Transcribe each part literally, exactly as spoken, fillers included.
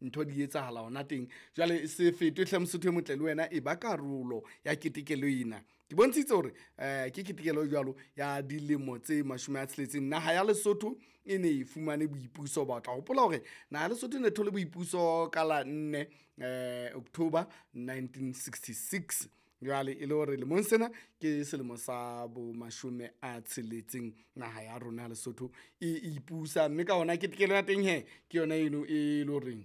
Ntho di etsahala hona teng. Jwale se fetwe hle Mosotho e motle le wena e ba karolo ya ketekelo ena. Ke bontshitse hore um ke ketekelo e jwalo ya dilemo tse mashome a tsheletseng naha ya Lesotho e ne e fumane boipuso. Ba tla hopola hore naha ya Lesotho e ne thole boipuso ka la nne um October nineteen sixty six. Jwale e le hore lemong sena ke selemo sa bo mashome a tsheletseng naha ya rona ya Lesotho e ipusa, mme ka hona ketekelo ya teng hee ke yona eno e le horeng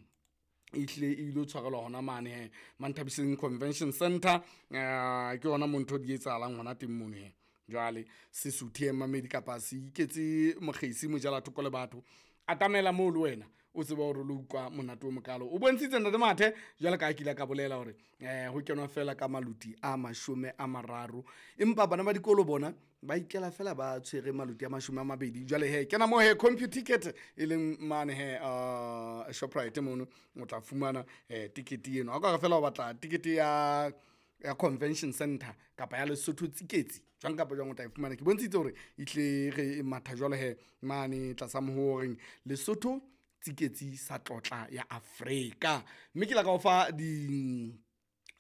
e hlile e ilo tshwarelwa hona mane he Manthabiseng Convention Center. Eh, ke hona mo ntho di etsahalang hona teng mono he. Jwale se suthe mamedi kapa se iketse mokgesi mojela thoko le batho, atamela moo le wena o tsebe hore lo utlwa monate o mokalo. O bontshitse ntate Mathe jwale ka ha ke ile ka bolela hore um ho kenwa fela ka maluti a mashome a mararo, empa bana ba dikolo bona ba ikela fela ba tshwere maluti a mashome a mabedi. Jwale he kena mo he Computicket e leng mane he uh, Shoprite mono o tla fumana eh, tikete eno. Ha o ka re fela o batla tikete ya ya convention center kapa ya Lesotho tsiketsi jwang kapa jwang o tla e fumana. Ke bontshitse hore e tle re matha jwalo he mane tlasa mohoreng Lesotho tsiketsi sa tlotla ya Afrika. Mme ke la ka o fa di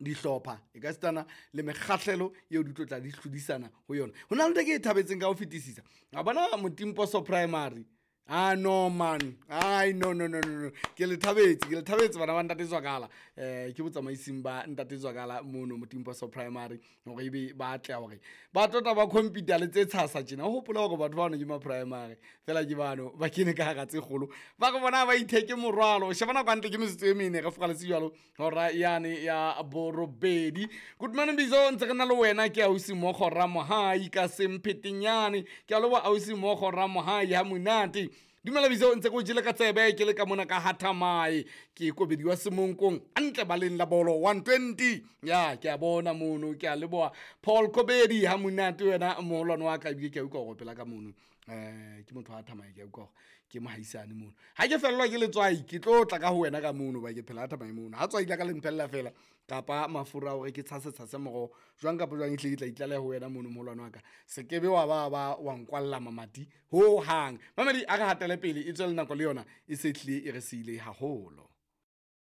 dihlopha e ka sitana le mekgahlelo eo di tlo tla di hlodisana ho yona. Ho na le ntho e ke e thabetseng ka ho fetisisa, a bona Motimposo Primary. Ah no man, ai no no no no no, ke le thabetse, ke le thabetse bana ba ntate Zwakala. Eh ke botsamaising ba ntate Zwakala mono Motimposo Primary hore ebe ba atleha hore ba tlotla ba computer le tse tshasa tjena. O hopola hore batho bano ke ma primary fela ke bano ba kene ka hara tse kgolo, ba re bona ba itheke morwalo. Sheba nako hantle ke metsotso e mene re furaletse jwalo hora yane ya borobedi. Good morning Bizo, ntse re na le wena ke ausi Mokgo Ramohai ka Semphetenyane. Ke a leboha ausi Mokgo Ramohai ha monate. Dumela Bizo, ntse ke o jele ka tsebe ke le ka mona ka Hathamae, ke kobediwa Semonkong hantle baleng la bolo one twenty. Ya ke a bona mono, ke a leboha Paul Kobedi ha monate wena moholwane wa ka, ebile ke a utlwa hore o pela ka mono. Eh ke motho wa Hathamae, ke a utlwa hore ke mohaisane mono. Ha ke fellwa ke letswai ke tlo tla ka ho wena ka mono, ba ke phela Hathamae mono. Ha tswai la ka le mphella fela kapa mafura a hore ke tshase tshase moroho jwang kapa jwang, ehlile ke tla itlaleha ho wena mono moholwane wa ka. Se kebe wa ba ba wa nkwalla mamati ho hang. Mamedi a re hatele pele e tswele nako le yona e se hlile e re siile haholo.